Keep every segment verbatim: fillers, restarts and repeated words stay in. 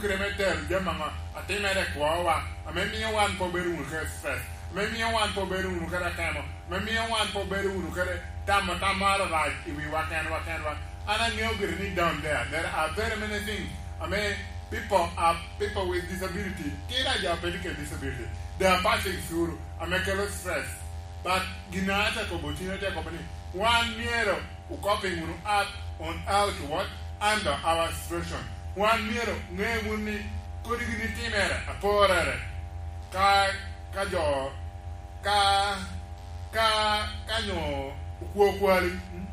kede me tero jami aŋo atimere i kwowa, ame mio wan pe obedo wunu kede stress, ame mio wan pe obedo wunu kede akemo, ame mio wan pe obedo wunu kede tamo tam moro arac i wiwa kenwa kenwa. An aŋeo gire ni down there, there are very many things ame people are, people with disability, kit a jo a pe tye kede disability, they are passing through, ame kelo stress. But gin a ate kobo tino, ate kobo ni, wan myero okop wunu up on how to what? Handle our situation. Wan myero ŋe wunu ni kodi gin itimere aporere. Ka, ka jo, ka, ka, ka nyo okwo kwali, mm?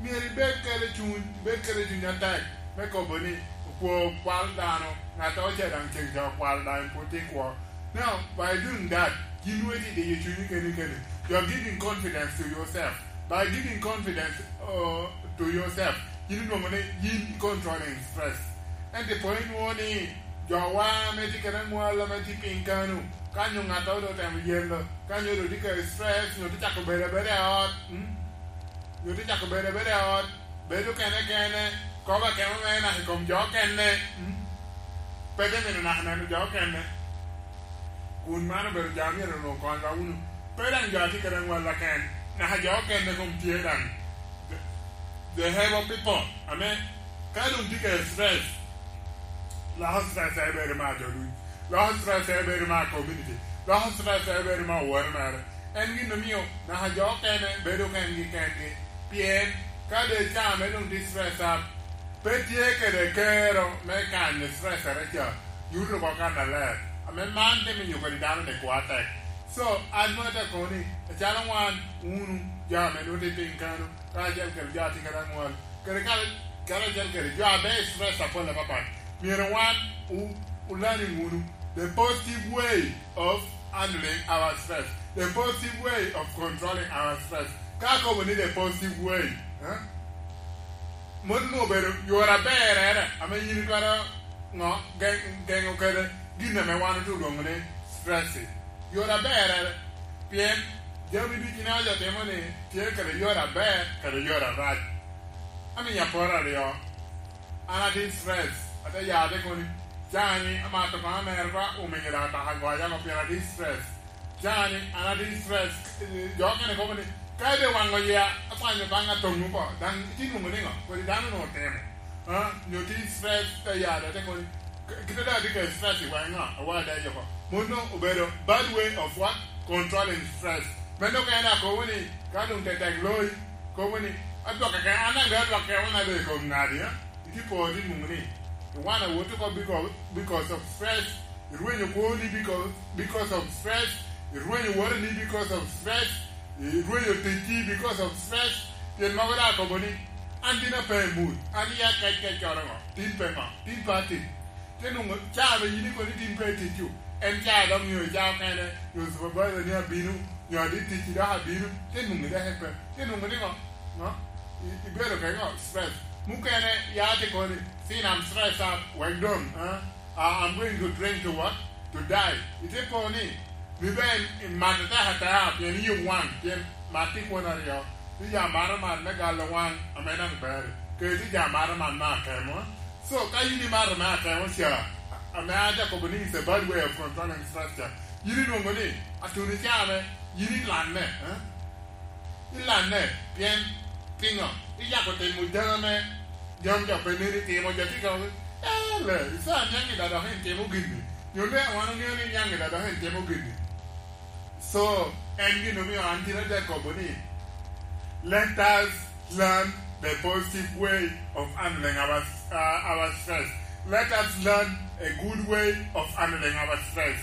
Myero ibed kede cuny, ibed kede cuny atek me kobo ni okwo kwal dano, ŋat ocel daŋ ceng ca okwalo daŋ en pwod tye kwo. Now, by doing that, yin weti diyo cunyi keni keni. You are giving confidence to yourself. By giving confidence, uh, to yourself, yin inwoŋo ni yin i controlling stress. Ento po inwoŋo ni jowa ame tye kede aŋwal ame tye piny kano, ka nyo ŋat a otemo yelo, ka nyo doŋ tye kede stress, nyo tye cako bedo abeda i ot, mm? Nyo tye cako bedo abeda i ot, bedo kene kene, kobo akemo mere naka i kom jo okene, mm? Pe te mito naka neno jo okene. Kun man obedo jo a myero onwoŋo konywa wunu. Pe daŋ jo a tye kede aŋwal aken, naka jo okene kom tye daŋ. The, the able people, ame ka doŋ tye kede stress, loko stress a bedo me ajo duc, loko stress a bedo me community, loko stress a bedo me oworo mere. En gin omio naka jo okene bedo kengi kengi, pien ka doŋ ca ame doŋ tye stress up, pe tye kede kero me kanyo stressere ca, nyuto oko kannaler, ame man te miyo kodi dano ni kwo atek. So, an mano te kobo ni, acalo wan, wunu, jo ame nwoŋo tye piny kano, karacel kede jo a tye kede aŋwal, kede kare-, karacel kede jo a be stress apol apapat, myero wan o-, o learning wunu the positive way of handling our stress, the positive way of controlling our stress. Ka akobo ni the positive way, eh? Mot onwoŋo obedo yore aberere ame yin itwero ŋo, ge-, geŋo kede gin ame wan otye olwoŋo ni stress. Yore aberere, pien jami ducu ame jo timo ni tye kede yore aber kede yore arac. Amiyo aporo aryo. An atye stress, ate ya ate kobo ni, "Cani, amato kong amero ba omiyo daŋ ataka goya oko pien atye stress." Cani, an atye stress, eh, jo okene kobo ni, "Ka ite waŋo ya, akwanyo baŋ atoŋ oko, daŋ itye nwoŋo niŋo? Kodi dano onwoŋo otemo." Ah, nyo tye stress, te ya ate kobo ni, "K-, kite daŋ atye kede stress i waŋa, awada yoko." Mano obedo bad way of what? Controlling stress. Meno okene akobo ni, ka doŋ tetek loi, kobo ni, "Adwokke kene, an daŋ doŋ adwokke, wan abedo i kom ŋadi, eh?" Itye poro ni muŋ ni, "Wan awot oko because, because of stress." Irwenyo kwoni because, because of stress. Irwenyo woteni because of stress. Irwenyo ticci because of stress. Pien mogo daŋ akobo ni, "An tin ape i mut, an iya kec kec coro ŋo, tin pe ŋo, tin pe atic." Te nwoŋo caa ame yin ikobo ni tin pe itic-cu, en caa dok nyo caa okene, nyo supervisor ni abino, nyo adit ticci dok abino, te nwoŋo idok ipe, te nwoŋo ni ŋo? Ŋo? I-, ibedo kede ŋo? Stress. Mukene ya te kobo ni, "Sin, I'm stressed up, wek doŋ, ah, ah, I'm going to drink to what? To die." Ite po ni, mi be imat atek ateka, pien iyi owaŋ, pien mat tye kwon aryo. Tye jo a mato mat me galo waŋ, ame daŋ ber, kede tye jo a mato mat me akemo. So, ka yin imato me akemo ca, ame an akobo ni it's a bad way of controlling stress ca, yin inwoŋo ni, atuni ca ame, yin ilanne, eh? Ilanne, pien piŋo? Iyako timo jami ame jami jo pe neni timo, jo tye ka waco, "Eh, le, ica niaŋ i da dok en timo gin-ni." Nyo le wan oŋeo ni niaŋ i da dok en timo gin-ni. So, en gin omio an tin ate kobo ni, let us learn the positive way of handling our, uh, our stress. Let us learn a good way of handling our stress.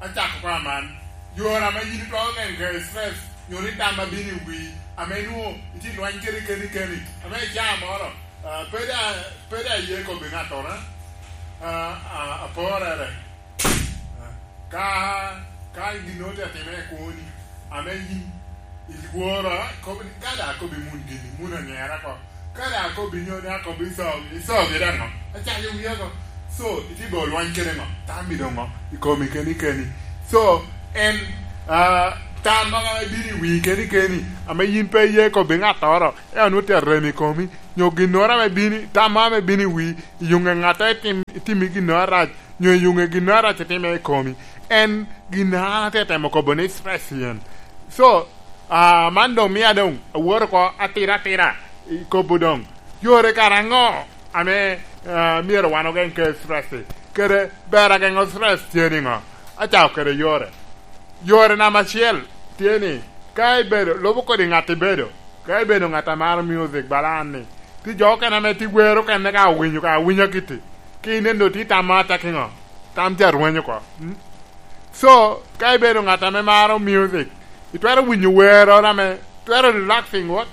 Acako ko aman, yore ame yin itwero neno kede stress, nyo ni tam a bino i wii, ame nwoŋo itye lweny kede keni keni, ame i caa moro, ah, pe da, pe da iye kobbi ŋattoro, ah, ah, aporere. Ah, ka, ka gin ote atimere kwoni, ame yin ilworo, ikobo ni, "Ka da akobo i mun gini, mun onyera oko." Ka daŋ akobo i nyodi, akobo i sogi, i sogi daŋ ŋo? Acayo wia oko. So, itye go lwany kede ŋo? Tammi doŋ ŋo? I komi keni keni. So, en, ah, Tam moro ame bino i wii keni keni, ame yin pe iye kobbi ŋattoro, ento nwoŋo tye arem i komi, nyo ginnoro ame bino, tam moro ame bino i wii, iyuŋe ŋatte itim, itimi ginnoro arac, nyo iyuŋe ginnoro arac itime i komi. En gin a an atye temo kobo ni stress yen. So, ah, man doŋ mia doŋ awoto oko atira atira i kobo doŋ. Yore kara aŋo ame, ah, myero wan ogeŋ kede stress-ci? Kede ber ageŋo stress tye niŋo? Acako kede yore. Yore namba acel tye ni, ka ibedo, lubo kodi ŋat ibedo, ka ibedo ŋat a maro music bala an-ni, ti jo okene ame ti wero okene ka owinyo, ka awinya kiti, ka ineno ti tamo ata kiŋo, tam ca rwenyo oko. Mm? So, ka ibedo ŋat ame maro music, itwero winyo wero ame twero relaxing wot,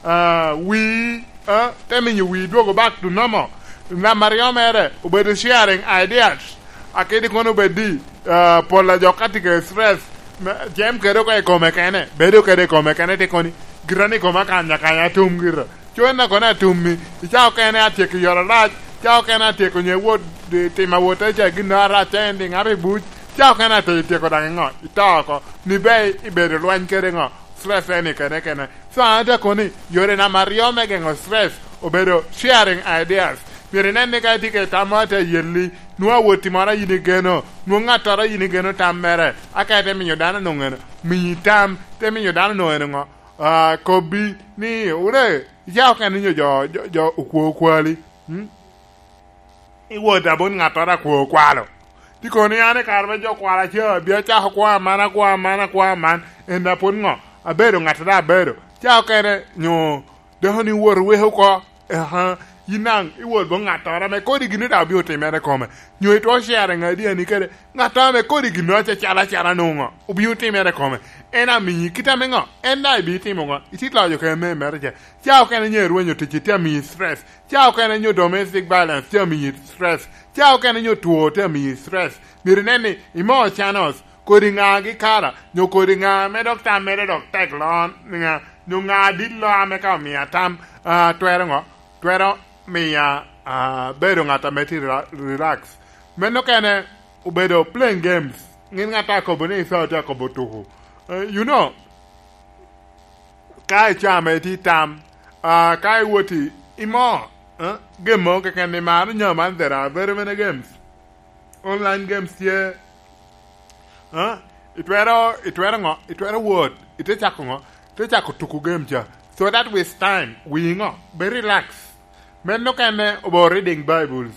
ah, wii, ah, te miyo wii dwogo back to normal. Namba aryo mere, obedo sharing ideas. Akedi kono obed di, ah, pol a jo ka tye kede stress, me, jem kede oko i kome kene, bedo kede i kome kene, te koni, gira ni koma kanya kanya atum gira. Cwena kono atummi, icako kene atyeko yot arac, icako kene atyeko nye wot, di, tim awot ca gin arac, ending abe buc, icako kene atyeko tyeko daŋ iŋo, ito oko, ni be ibedo lweny kede ŋo, stress eni kene kene. So, an ate koni, yore namba aryo me geŋo stress obedo sharing ideas. Myero inen ni ka itye kede tam moro ate yelli, nwoŋo awoti moro a yin igeno, nwoŋo ŋattoro a yin igeno tam mere, aka ite miyo dano nwoŋo eno, miyi tam, te miyo dano nwoŋo eno ŋo? Ah, kobbi ni, "Wure, icako kene nyo jo, jo, jo okwo okwali, mm? Iwot abot ŋattoro akwo okwalo." Ti kono ni an i kare me jo kwalo aca, bia cako kwo aman, akwo aman, akwo aman, en a pwod ŋo? Abedo ŋattoro abedo. Cako kene nyo dako ni wot weko oko. Aha, yin daŋ iwot bo ŋattoro ame kodi gin daŋ obino timere kome. Nyo itwo sharing ideani kede ŋattoro ame kodi gin acel acel nwoŋo obino timere kome. En amiyi kit ame ŋo? En daŋ ibino timo ŋo? Itye loyo kede me mere ce. Ca okene nyo irwenyo tic itye amiyi stress. Ca okene nyo domestic violence tye amiyi stress. Ca okene nyo two tye amiyi stress. Myero inen ni imo channels, kodi ŋa gi kara, nyo kodi ŋa ame dok tam mere dok tek lon, ŋa, nyo ŋa dit lo ame ka omiya tam, ah, twero ŋo? Twero miya, ah, bedo ŋat ame tye rela-, relax. Meno okene obedo playing games. Ŋin ŋat a kobo ni Esau tye akobo tuku. Eh, you know, ka icamo iti tam, ah, ka iwoti imo, eh, game mo keken ni mano nyo man, there are very many games. Online games tye, eh, itwero, itwero ŋo? Itwero wot, ite cako ŋo? Ite cako tuku game ca. So that with time, wi ŋo? Be relax. Meno okene obo reading Bibles.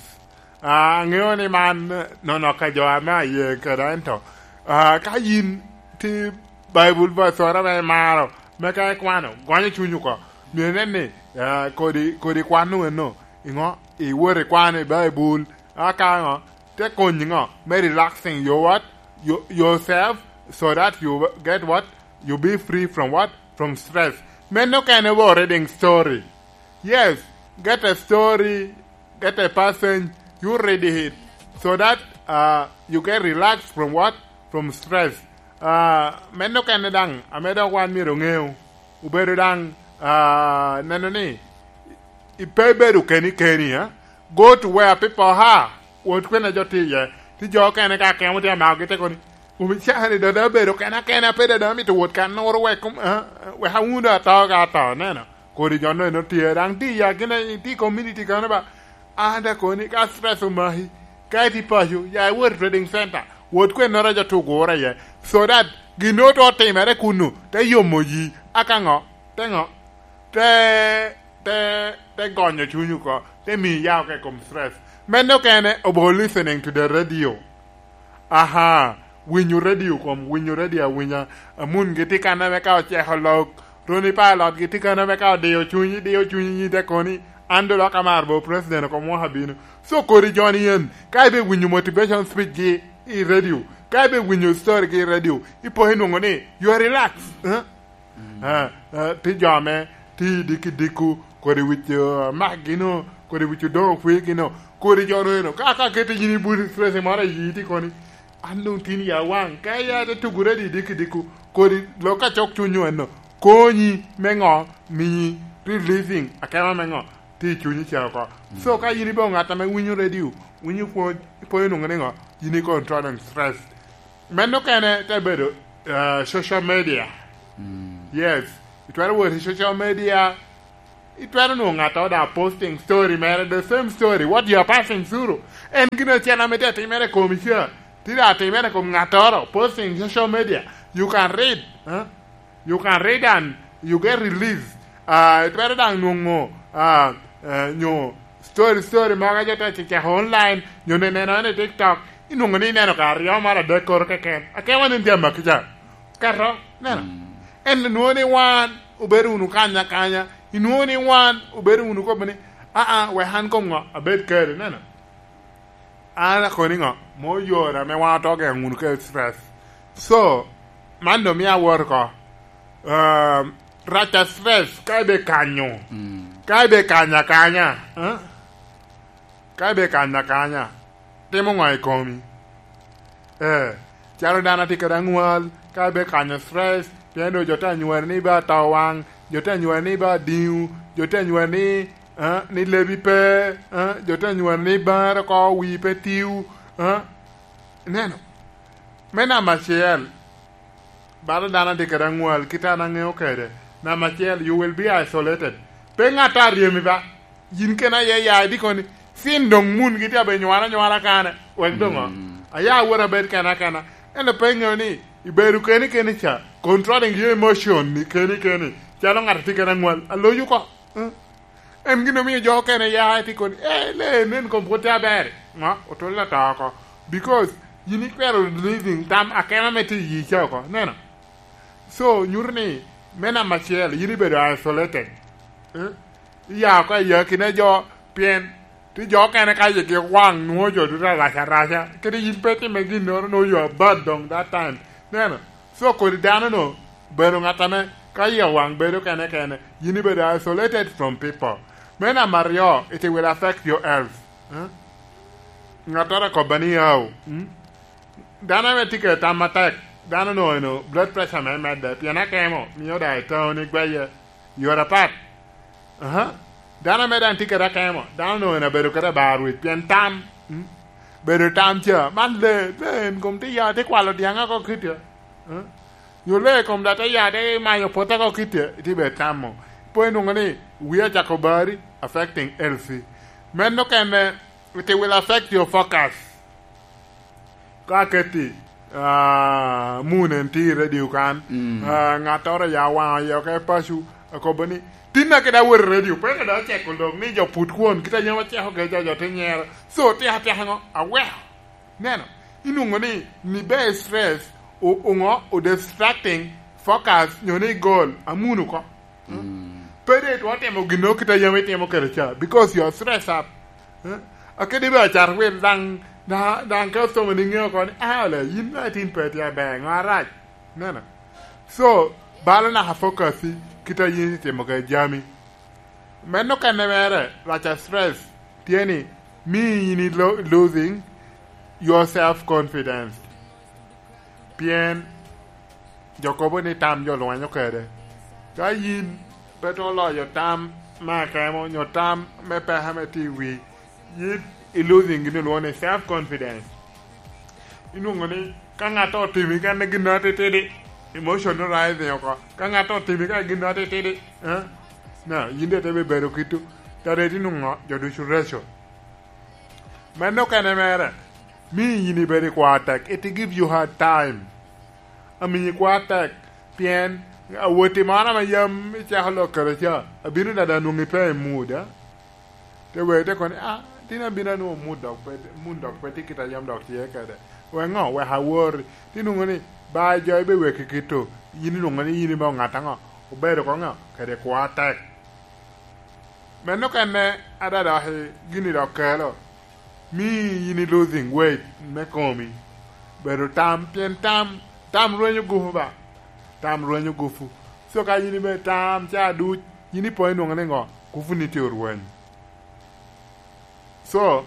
Ah, aŋeo ni man nono ka jo ame aye kede, ento, ah, ka yin ti Bible verse oro ame imaro, me ka ikwano, gonyo cuny oko. Myero inen ni, ah, kodi, kodi kwano eno, iŋo? Iwot ikwano i Bible, aka ŋo? Te konyi ŋo? Me relaxing your what? Your, yourself, so that you get what? You be free from what? From stress. Meno okene obo reading story. Yes, get a story, get a person, you read it, so that, uh, you get relaxed from what? From stress. Uh, meno okene daŋ, ame dok wan myero oŋeu, obedo daŋ, uh, neno ni, i-, pe ibedo keni keni, eh? Go to where people are. Wot kwene jo tye iye. Ti jo okene ka kemo tye amako gi te koni, "Omican-ni dada abedo kena kena, pe dada amito wot kan noro wek kom-, ah, wek awundo ato ka ato, neno." Kodi jo-nu eno tye, daŋ tye i akina, tye i community kano ba. An daŋ koni, ka stress omaki, ka itye paco, ya iwot i trading center, wot kwennoro a jo tye ogure iye, so that gin nongo tye otimere kunnu, te yomo yi, aka ŋo? Te ŋo? Te, te, te gonyo cuny oko, te miyi ya oko i kom stress. Meno okene obo listening to the radio. Aha, winyo radio kom, winyo radio awinya. Amun gitye kan ame ka oceko lok, Ronnie Pilot gitye kan ame ka odiyo cunyi, diyo cunyi nyi te koni, "An do lok amaro bo president oko mwaka bino." So kodi joni en, ka ibe winyo motivation speech gi i radio, ka ibe winyo story gi i radio, ipo inwoŋo ni, you are relaxed, eh? Ah, ah, ti jo ame ti diki diku, kodi wic, ah, mak gino, kodi wic odoŋo kwi gino, kodi jo nono. Ka, ka kete yin i but stress moro i yi ti koni, "An doŋ tin ya waŋ, ka ya te tugu ready diki diku," kodi lok ka cok cunyo eno, konyi me ŋo? Miyi releasing akema me ŋo? Ti i cunyi ca oko. So, ka yin ibedo ŋat ame winyo radio, winyo pwony, ipwonyo nwoŋo ni ŋo? Yin i controlling stress. Meno kene te bedo, Uh, social media. Mm. Yes. Itwero wot i social media. Itwero nwoŋo ŋattoro da posting story mere, the same story. What you are passing through. En gin acel ame tye atimere i komi ca. Tye da atimere i kom ŋattoro. Posting social media. You can read. Huh? You can read and you get release. Uh, itwero daŋ nwoŋo uh, uh, nyo story story mogo jo te ceceko online nyo ne neno en i TikTok, inwoŋo ni ineno ka aryo mara adek koro keken. Akema ni tye amaki ca. Keto, neno. Mm. En nwoŋo ni wan obedo wunu kanya kanya, inwoŋo ni wan obedo wunu kobo ni, aa, wek an kom ŋo abed kede, neno. An akoni ŋo? Mo yore ame wan oto geno wunu kede stress. So, man do mia awot oko. Um, raca stress ka ibe kanyo. Mm. Ka ibe kanya kanya. Eh? Ka ibe kanya kanya. Timo ŋo i komi? Eh, calo dano atye kede aŋwal, ka ibe kanyo stress, pien do jo te anywari ni ibe ato waŋ, jo te anywari ni ibe adiŋo, jo te anywari ni, eh, ni lebi pe, eh, jo te anywari ni bar oko wi pe tiu, eh. Ineno? Me namba acel, bala dano atye kede aŋwal, kit an aŋeo kede, namba acel, you will be isolated. Pe ŋat a ryemi ba. Yin kena aye ya idiko ni, sin doŋ mun gitye abe nywara nywara kane, wek doŋ o. Mm. Aya awot abed kena kena. Ento pe iŋeo ni, ibedo keni keni ca, controlling your emotion ni keni keni, calo ŋat atye kede aŋwal, aloyo oko. Mm. En gin omio jo okene ya iti koni, eh, le nen kom pwod tye aber. Ŋo? Otol ata oko. Because yin ikwero releasing tam akema me tye iyi ca oko. Neno? So, nyuto ni, me namba acel, yin ibedo isolated. Eh? Iya oko i akina jo, pien, ti jo okene ka yigi waŋ nwoŋo jo duto arac araca. Kede yin pe time ginnoro, no, you are bad doŋ that time. Neno? So, kodi dano no, bedo ŋat ame ka yie waŋ bedo kene kene, yin ibedo isolated from people. Me namba aryo, it will affect your health. Eh? Ŋattoro akobba ni, "Aw, mm? Dano ame tye kede tam atek, dano no eno blood pressure me medde, pien akemo, mio da itao ni gweye, you are apart." Aha. Dano ame daŋ tye kede akemo, dano no eno abedo kede abar wic, pien tam, mm? Bedo tam ca, man le, le en kom tye ya, tye kwalo dyaŋ oko kite. Eh? Yo le kom da te ya te mayo pota ko kite, iti be tamo. Po inwoŋo ni, wia cako bari, affecting healthy. Men okene, it will affect your focus. Ka keti, ah, mun en ti i radio kan, mm, ah, ŋattoro ya waŋo yo ke pacu, akobo ni, tinna kede awot i radio, pe kede aceko lok ni jo put kwon, kita yam aceko ke jo, jo te nyero. So, tika tika ŋo? Aweko. Neno, inwoŋo ni, ni be stress, o-, oŋo, o distracting focus, nyo ni goal, amuno oko. Mm. Pe de itwero timo gin kit a yam itimo kede ca, because you are stressed up. Eh? Akedi be acar wil daŋ, da-, daŋ ka osomo ni ŋeo oko ni, ah, ole, yin me atin pe tye aber, ŋo arac? Neno. So, balo naka focus i kit a yin itimo kede jami. Meno kene mere, rac a stress, tye ni, mi yin ilo-, losing your self confidence. Pien jo kobo ni tam jo lwenyo kede. Ka yin pe twero loyo tam me akemo, nyo tam me peke me tye i wi, yin i losing gin olwoŋo ni self confidence. Inwoŋo ni ka ŋat otimi kene gin atitidi, emotion rising oko. Ka ŋat otimi ka gin atitidi, eh? Na, yin de te be bedo kitu. Tare ti nwoŋo jo ducu reco. Meno kene mere, mi yin ibedo i kwa tek, it give you hard time. Ami kwa tek, pien awoti moro ame yam icako lok kede ca, abino dada nwoŋi pe i mood, a? Te wek te koni, ah, tin abino anwoŋo mood dok pe, mood dok pe tye kit a yam dok tye kede. Wek ŋo? Wek awori. Ti nwoŋo ni, ba jo ibe weki kito, yin inwoŋo ni yin ime oŋat aŋo? Obedo ko ŋo? Kede kwa tek. Meno kene adada i gini dok kelo, mi yin i losing weight me komi. Bedo tam, pien tam, tam rwenyo gupu ba. Tam rwenyo gupu. So ka yin ibe tam ca duc, yin ipo inwoŋo ni ŋo? Gupu ni tye orweny. So,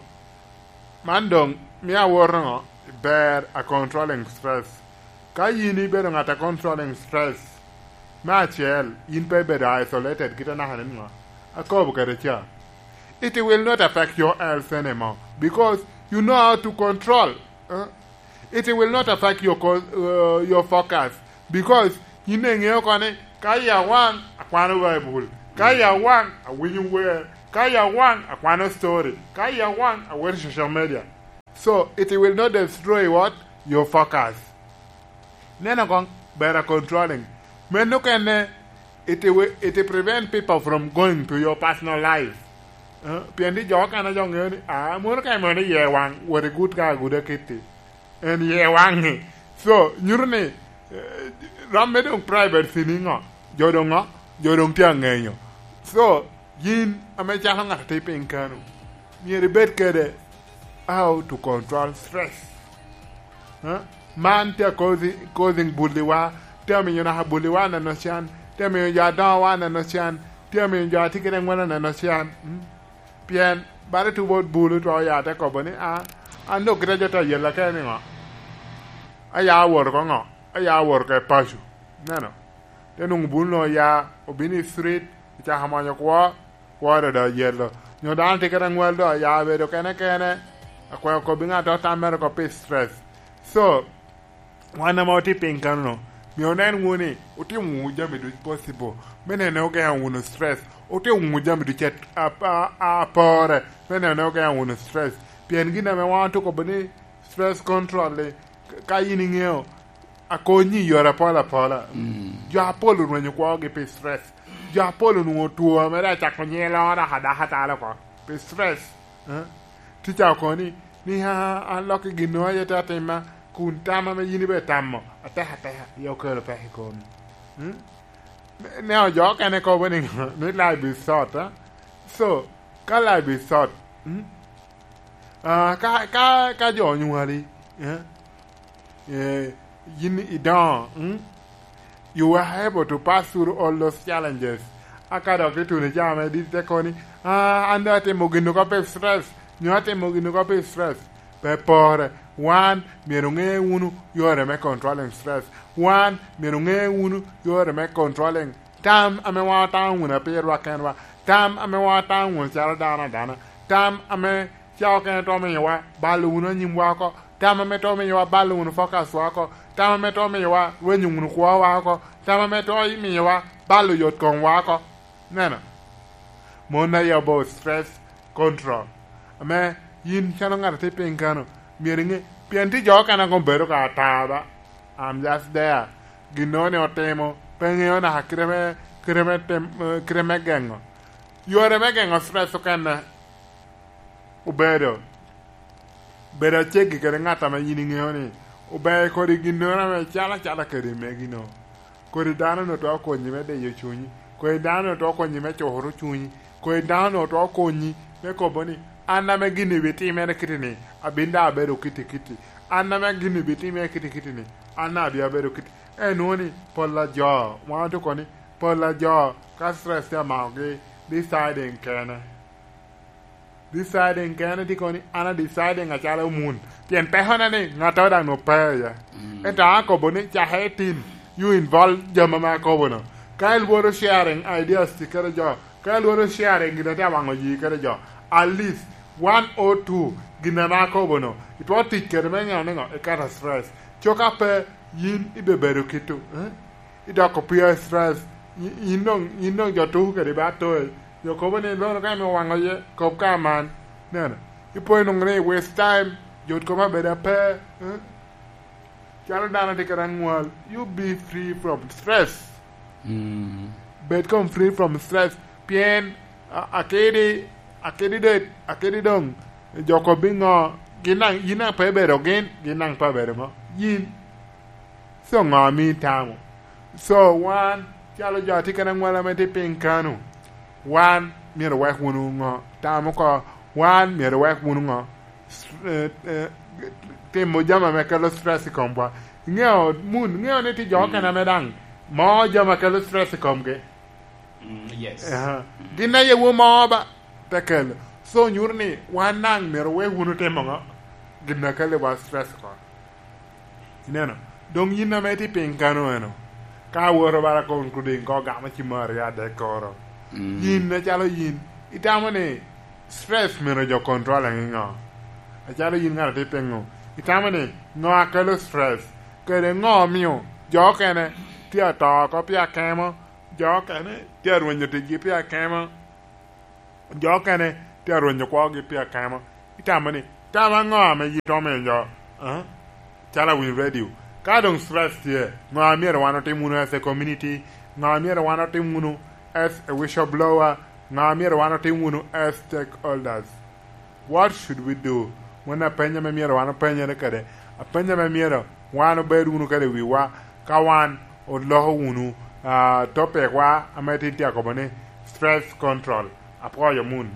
man doŋ mio awoto ŋo? Ber a controlling stress. Ka yin ibedo ŋat a controlling stress, me acel, yin pe ibedo isolated kit anaka ni ŋo? Akobo kede ca. It will not affect your health anymore because you know how to control. Eh? It will not affect your co-, uh, your focus. Because yin iŋeo oko ni ka ya waŋ, akwano Baibul. Ka ya waŋ, awinyo wer. Ka ya waŋ, akwano story. Ka ya waŋ, awero social media. So, it will not destroy what? Your focus. Neno koŋ, better controlling. Meno kene, it will, it will prevent people from going to your personal life. Eh, pien di jo okene jo ŋeo ni, ah, mono ka imio ni ye waŋ, wot igut ka aguda kitti. En ye waŋi. So, nyuto ni, eh, rom me doŋ privacy ni ŋo? Jo doŋ ŋo? Jo doŋ tye aŋenyo. So, yin ame calo ŋat a tye piny kano, myero ibed kede how to control stress. Eh? Man tye causing, causing bulliwa, tye amiyo naka bulliwa neno can, tye amiyo jo adoŋowa neno can, tye amiyo jo a tye kede ŋwelo neno can. Mm? Pien bala tubo bulu twao ya te kobo ni, "Ah, an dok kite jo te yela kene ni ŋo? Aya awot oko ŋo? Aya awot oko i paco." Neno? Te nwoŋo bulu no oya, obino i street, ocako monyo kwo, kwo dodo yelo. Nyo dano tye kede aŋwal do, ya obedo kene kene, akweo kobbi ŋat a tammere oko pi stress. So, wan ame otye piny kano, myero onen wunu ni otimo wunu jami duc possible me nene ogeŋo wunu stress, otimo wunu jami duc a, a, a, a pore me nene ogeŋo wunu stress. Pien gin ame wan otye kobo ni stress control-li, ka yin iŋeo, akonyi i yore apol apola. Mm. Jo apol orwenyo kwogi pi stress. Jo apol onwoŋo two ame rik acako nyiŋe loo dok adaka talo oko pi stress. Eh? Tica okoni ni, "Ah, an lok i gin aye te atima, kun tam ame yin ibe itamo, ateka ateka, aye okelo peko i komi." Hmm? Ne jo okene kobo ni, ni life is short, eh? So, ka life is short, hmm? Ah, ka, ka, ka jo onywali, eh? Eh, yin idoŋo, mm? You were able to pass through all those challenges. Aka dok ituno i caa me dit te koni, "Ah, an doŋ atimo gin oko pi stress, nyo atimo gin oko pi stress." Pe pore, wan myero oŋe wunu yore me controlling stress. Wan myero oŋe wunu yore me controlling tam ame wan otamo wunu apirwa kenwa, tam ame wan otamo wunu calo dano adana, tam ame ca okene to omiyowa balo wunu anyimwa oko, tam ame to omiyowa balo wunu focus wa oko, tam ame to omiyowa rwenyo wunu kwowa oko, tam ame to omiyowa balo yot komwa oko. Neno, mon aye about stress control. Ame yin calo ŋat a tye piny kano, myero iŋe, pien tye jo okene a koŋ bedo ka ata ba. I'm just there. Ginnoro ni otimo, pe ŋeo naka kite me, kite me tem-, eh, kite me geŋo. Yore me geŋo stress okene obedo, bedo aceggi kede ŋat ame yin iŋeo ni ober kodi ginnoro ame calo acala kede megi-no. Kodi dano-nu twero konyi me diyo cunyi. Kodi dano-nu twero konyi me curo cunyi. Kodi dano-nu twero konyi me kobo ni, "An ame gin-ni bitimere kiti-ni, abin daŋ abedo kiti kiti. An ame gin-ni bitimere kiti kiti-ni, an daŋ abin abedo kiti." En nwoŋo ni, pol a jo, wan otye kobo ni, pol a jo, ka stress tye amakogi, deciding kene. Deciding kene tye kono ni an a deciding acalo mun. Pien pekona ni ŋattoro daŋ nwoŋo pe iye. Mm. Ento an akobo ni cake itim, you involve jami ame akobo-nu. Ka ilworo sharing ideas tye kede jo, ka ilworo sharing gin a tye awaŋo yi kede jo, at least one or two gin ame akobo-nu, itwero tic kede me ŋeo niŋo, iketo stress. Coka pe yin ibebedo kito, eh? Idoko pia stress, yin, yin doŋ, yin doŋ jo tuko kede ba toyi. Jo kobo ni, "Lono ka ame owaŋo ye, kop ka man." Neno, ipo inwoŋo ni waste time, jo kobo abedo ape, eh? Calo dano tye kede aŋwal, you be free from stress. Mm. Bed kom free from stress, pien a-, akidi, akidi de-, akidi doŋ, jo kobbi ŋo, gin daŋ, yin daŋ pe ibedo gin, gin daŋ pe abedo ŋo, yin. So ŋo ami tamo? So wan, calo jo a tye kede aŋwal ame tye piny kano, wan myero wek wunu ŋo? Tam oko, wan myero wek wunu ŋo? S-, eh, eh, timo jami ame kelo stress i komwa. Iŋeo, mun, iŋeo ni tye jo okene ame daŋ moo jami a kelo stress i komgi. Mm, yes. Aha. Mm. Gin aye wo moo ba te kelo. So nyuto ni wan daŋ myero wek wunu timo ŋo? Gin a kelo wa stress oko. Ineno? Doŋ yin ame itye piny kano eno, ka awoto bala koŋ kuding ko gamo ci mo aryo adek koro. Mm. Yin acalo yin, itamo ni stress myero jo control i ŋo? Acalo yin ŋat a tye piny ŋo? Itamo ni ŋo a kelo stress? Kede ŋo omio Jo okene tye ato oko pi akemo, jo okene tye arwenyo ticgi pi akemo, jo okene tye arwenyo kwogi pi akemo. Itamo ni, tamo aŋo ame yito omiyo jo, eh? Calo awinyo radio, ka doŋ stress tye, ŋo amyero wan otim wunu as a community? Ŋo amyero wan otim wunu as a whistleblower? Ŋo amyero wan otim wunu as stakeholders? What should we do? Mano apeny ame myero wan openyere kede, apeny ame myero wan obed wunu kede i wiwa ka wan oloko wunu, ah, topicwa ame tin tye akobo ni stress control. Apwoyo mun.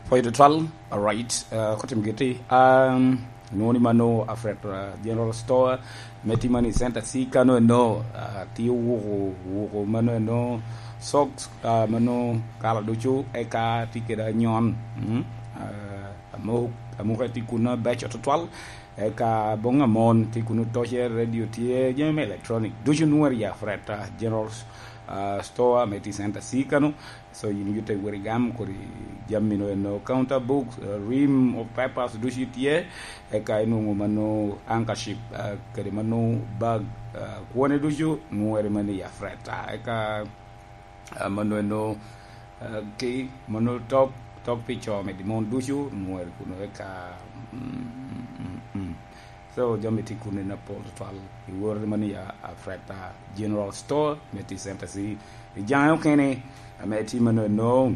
Pwoyo tutwal, alright, uh, kotim giti. Um, nwoŋo ni mano Alfred, uh, General Store, me timo ni Center C kano eno, uh, tye wuko, wuko mano eno, socks, uh, mano kala ducu, eka tye kede anyon, mm, uh, amuk-, amuka tye kuno beco tutwal, eka boŋ amon tye kuno, toce, radio tye, jami me electronic, ducu nwere ya Alfred, uh, General, uh, Store, me tye Center C kano. So yin yute wot igam kodi jami no eno, counter books, uh, ream of papers ducu tye, eka inwoŋo mano handkerchief, uh, kede mano bag, uh, kwone ducu nwere mano i Alfred. Uh, eka, uh, mano eno, uh, ki mano tok, tok pi co medi mon ducu nwere kuno, eka, mm, mm, mm. So jami tye kuno na pol tutwal i woro mano ya Alfred, uh, General Store me tye Center C. I jaŋe okene ame tye mano eno,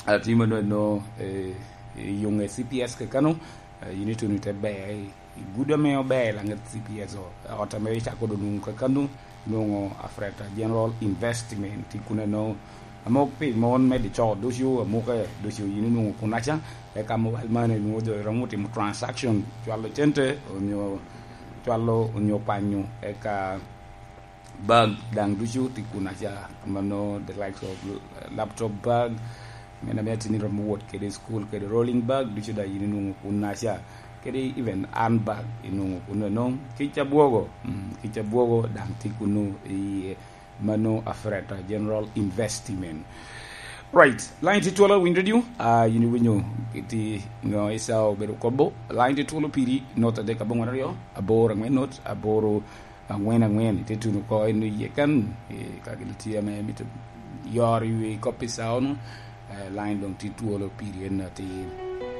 ah, tye mano eno, eh, i yuŋe C P S kakano, eh, yin ituno ite ber i, i gudo ame ober laŋet C P S o, ot ame icako doŋ nwoŋo kakano, nwoŋo Alfred General Investment tye kuno eno. Amok pi mon me dico ducu, amuke ducu yin inwoŋo kunaca, eka mobile money nwoŋo jo romo timo transaction, cwalo cente, onyo cwalo, onyo kwanyo, eka bag daŋ ducu tye kunaca, mano the likes of laptop bag, meno ame atini romo wot kede i school, kede rolling bag, ducu daŋ yin inwoŋo kunaca, kede even handbag inwoŋo kuno eno, kica bwogo, mm, kica bwogo daŋ tye kuno i mano Alfred General Investment. Right, line tye twolo, winyo radio, ah, yin iwinyo kiti ŋo Esau obedo kobo, line tye twolo piri, not adek aboŋwen aryo, aboro aŋwen not, aboro aŋwen aŋwen, ite tuno oko eno iye kan, eh, ka gin tye ame mito yoro i wi kop i sawa-nu, eh, line doŋ tye twolo piri en atir.